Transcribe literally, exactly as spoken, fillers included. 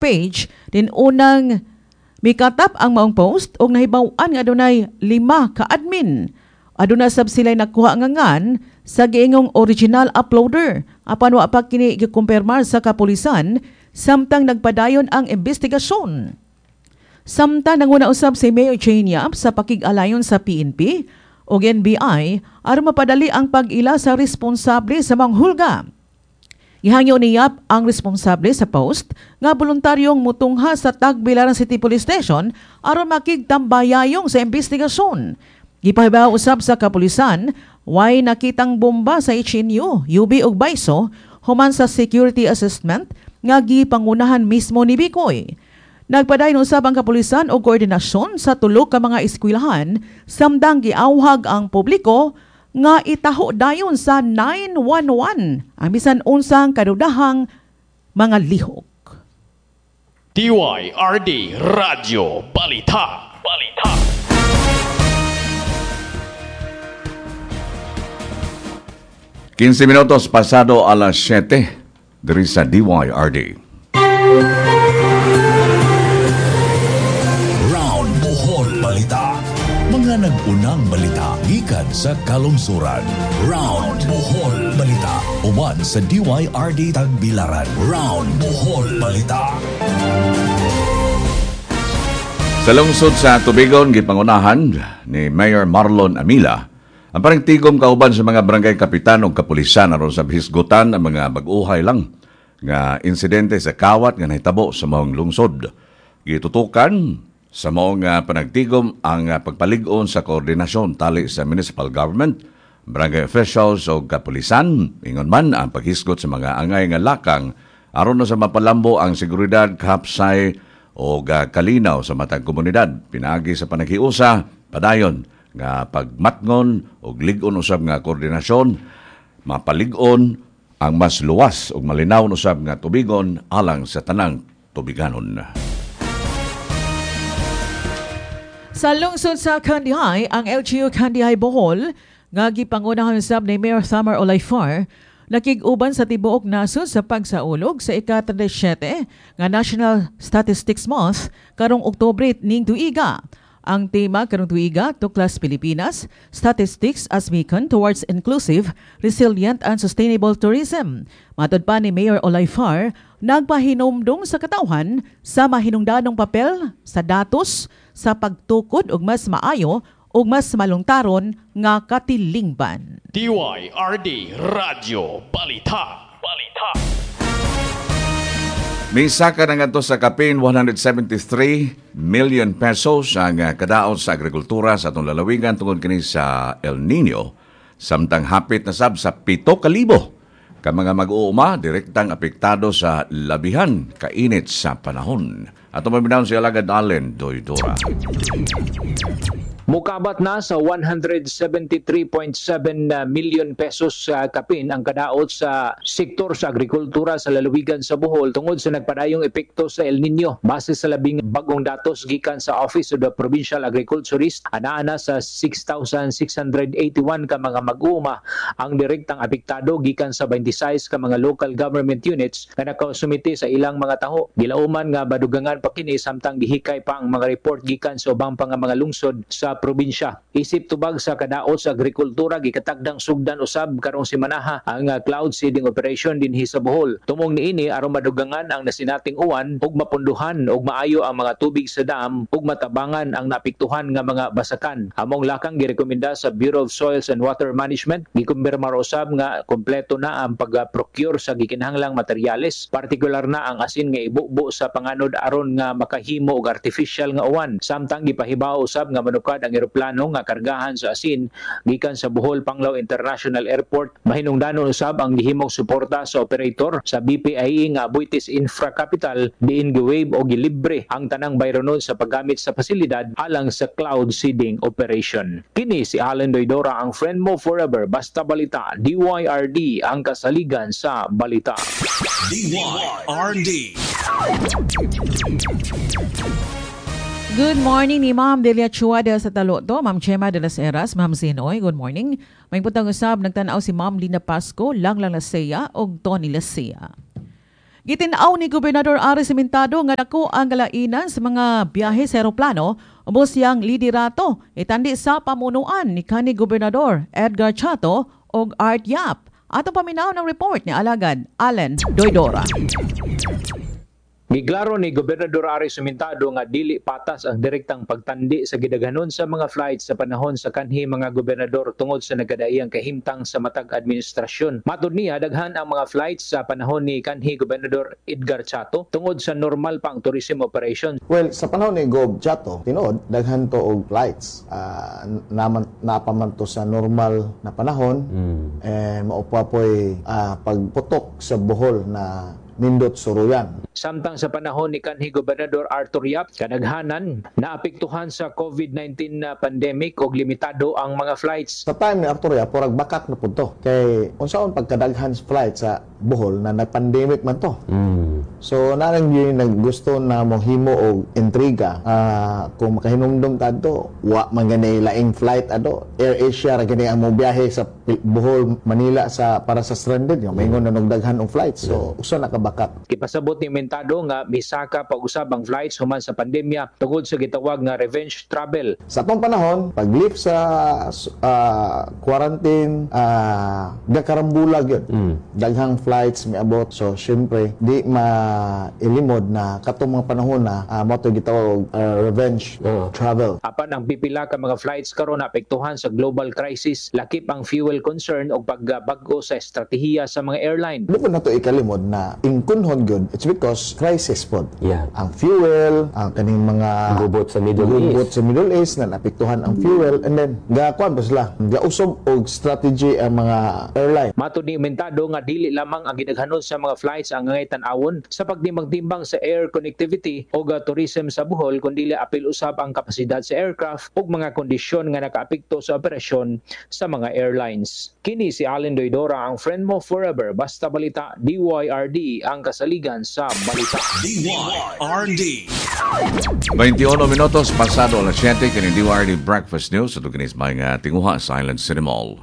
Page din unang mikatap ang maong post og nahibaw-an nga adunay lima ka admin. Aduna sab sila'y nakuha nga ngan sa giingong original uploader, apan wa pa kini gikumpirmar sa kapulisan samtang nagpadayon ang investigasyon. Samtang nanguna usab si Mayor Jane Yap sa pakig-alayon sa P N P o N B I aron mapadali ang pag-ila sa responsable sa manghulga. Gihangyo ni Yap ang responsable sa post nga voluntaryong mutungha sa Tagbilaran City Police Station aron makigtambayayong sa investigasyon. Gipahibaw usab sa kapulisan, way nakitang bomba sa H N U, U B ug Baiso human sa security assessment nga gipangunahan mismo ni Bikoy. Nagpadayon usab ang kapulisan og koordinasyon sa tulo ka mga eskwelahan samtang giawhag ang publiko nga itaho dayon sa nine one one ang bisan unsang kadudahang mga lihok. D Y R D Radyo Balita. Balita. kinse minutos pasado alas siyete diri sa D Y R D. Round Bohol Balita. Mga nag-unang balita gikan sa kalungsuran. Round Bohol Balita. Uban sa D Y R D Tagbilaran. Round Bohol Balita. Sa lungsod sa Tubigon, gipangunahan ni Mayor Marlon Amila ang parang tigom kauban sa mga barangay kapitan o kapulisan aron sa hisgutan ang mga bag-uhay lang nga insidente sa kawat nga nahitabo sa maong lungsod. Gitutukan sa maong ah, panagtigom ang ah, pagpalig-on sa koordinasyon tali sa municipal government, barangay officials o kapulisan, ingon man ang paghisgot sa mga angay nga lakang aron na sa mapalambo ang seguridad, kapsay o kalinaw sa matag komunidad. Pinaagi sa panaghiusa, padayon nga pagmatngon o lig-on usab nga koordinasyon, mapalig-on ang mas luwas ug malinaw usab nga tubigon alang sa tanang tubiganon. Sa lungsod sa Kandihay, ang L G U Kandihay Bohol nga gipangunahan usab ni Mayor Thamar Olayfar nakig-uban sa tibuok nasod sa pagsaulog sa ika-trenta y siyete nga National Statistics Month karong Oktubre ning tuiga. Ang tema karong tuiga, Tuklas Pilipinas, Statistics as Beacon Towards Inclusive, Resilient and Sustainable Tourism. Matod pa ni Mayor Olayfar, nagpahinumdum sa katawhan sa mahinungdanong papel sa datos sa pagtukod og mas maayo ug mas malungtaron nga katilingban. D Y R D Radyo Balita. Balita. Misaka na ngadto sa kapin one hundred seventy-three million pesos ang ah, kadaot sa agrikultura sa atong lalawigan tungod kini sa El Nino. Samtang hapit na sab sa pito kalibo ka mga mag-uuma direktang apektado sa labihan kainit sa panahon. Ato maminaw si Alagad Allen Doydora. Mukabat na sa one hundred seventy-three point seven million pesos sa kapin ang kadaot sa sektor sa agrikultura sa lalawigan sa Bohol tungod sa nagpadayong epekto sa El Nino. Base sa labing bagong datos gikan sa Office of the Provincial Agriculturist, anaa na sa six thousand six hundred eighty-one ka mga mag-uuma ang direktang apektado gikan sa twenty-six ka mga local government units nga nakasumite sa ilang mga taho. Gilauman nga badugangan pa kini samtang gihikay pa ang mga report gikan sa ubang pa nga mga lungsod sa probinsya. Isip tubag sa kadaot sa agrikultura, gikatagdang sugdan usab karong semanaha ang uh, cloud seeding operation dinhi sa Bohol. Tumong niini aron madugangan ang nasinating uwan ug mapunduhan ug maayo ang mga tubig sa dam ug matabangan ang naapektuhan nga mga basakan. Among lakang girekomenda sa Bureau of Soils and Water Management. Gikumpirmar usab nga kompleto na ang pag-procure sa gikinahanglang materyales, partikular na ang asin nga ibubo sa panganod aron nga makahimo og artificial nga uwan. Samtang gipahibaw usab nga manukad ang eroplano nga kargahan sa asin gikan sa Bohol Panglao International Airport. Mahinungdanon usab ang gihimong suporta sa operator sa B P I E nga Aboitiz Infra Capital, diin gi-waive o gilibre ang tanang bayronon sa paggamit sa pasilidad alang sa cloud seeding operation. Kini si Allen Doydora, ang friend mo forever. Basta balita, D Y R D, ang kasaligan sa balita. D Y R D. Good morning ni Ma'am Delia Chua de sa Taloto, Ma'am Chema de las Heras, Ma'am Zinoy, good morning. May putang usab nagtanaw si Ma'am Lina Pasco, Langlang Lasea og Tony Lasea. Gitinaw ni Gobernador Aris Simentado nga dako ang galainan sa mga biyahe sa eroplano ubos siyang liderato itandi sa pamunuan ni kanhi Gobernador Edgar Chatto og Art Yap. Atong paminaw ng report ni Alagad Allen Doydora. Giklaro ni Gobernador Aris Sumentado nga dili patas ang direktang pagtandi sa gidaghanon sa mga flights sa panahon sa kanhi mga gobernador tungod sa nagkadaiyang kahimtang sa matag administrasyon. Matod niya, daghan ang mga flights sa panahon ni kanhi Gobernador Edgar Chatto tungod sa normal pa ang tourism operation. Well, sa panahon ni Gob Chatto, tinuod daghan to og flights. Uh, naman napaman to sa normal na panahon mm. and mao pa po'y uh, pagputok sa Bohol na nindot suruyan. Samtang sa panahon ni kanhi Gobernador Arthur Yap, kadaghanan naapektuhan sa COVID nineteen na pandemic og limitado ang mga flights. Sa time ni Arthur Yap, murag bakak na pud to. Kay unsaon pagkadaghan sa flight sa Bohol na nag-pandemic man to. Mm. So narang yun naggusto na mohimo og intriga. Uh, kung makahinumdum ta adto, wa man gani laing flight ado. Air Asia ra gani ang mobiyahe sa Bohol Manila sa para sa stranded nga maingon na nagdaghan og flights. So usa na ka bakak. Gipasabot ni Mentado nga misaka pag-usab ang flights human sa pandemya tungod sa gitawag nga revenge travel. Sa atong panahon, pag-lift sa uh, quarantine, uh, gakarambulag yun. Mm. Daghang flights miabot. So syempre, di mailimod na katong mga panahon na uh, mao to gitawag uh, revenge uh. travel. Apan ang pipila ka mga flights karon apektuhan sa global crisis, lakip ang fuel concern og pagbag-o sa estratehiya sa mga airline. Di po nato ikalimod na ingkunhon gyud, it's because crisis pod. Yeah. Ang fuel, ang kaning mga gubot sa Middle gubot East. Sa Middle East na naapektuhan ang fuel and then gakuan pa sila. Gausob og strategy ang mga airline. Matod ni Mentado nga dili lamang ang gidaghanon sa mga flights ang angay tan-awon sa pagtimbang-timbang sa air connectivity o tourism sa Bohol, kundi apil usab ang kapasidad sa aircraft ug mga kondisyon nga nakaapekto sa operasyon sa mga airlines. Kini si Allen Doydora, ang friend mo forever. Basta balita, D Y R D ang kasaligan sa balita. D Y R D. twenty-one minutos pasado alas siyete, kini D Y R D Breakfast News at kinis mga tinguha sa Island City Mall.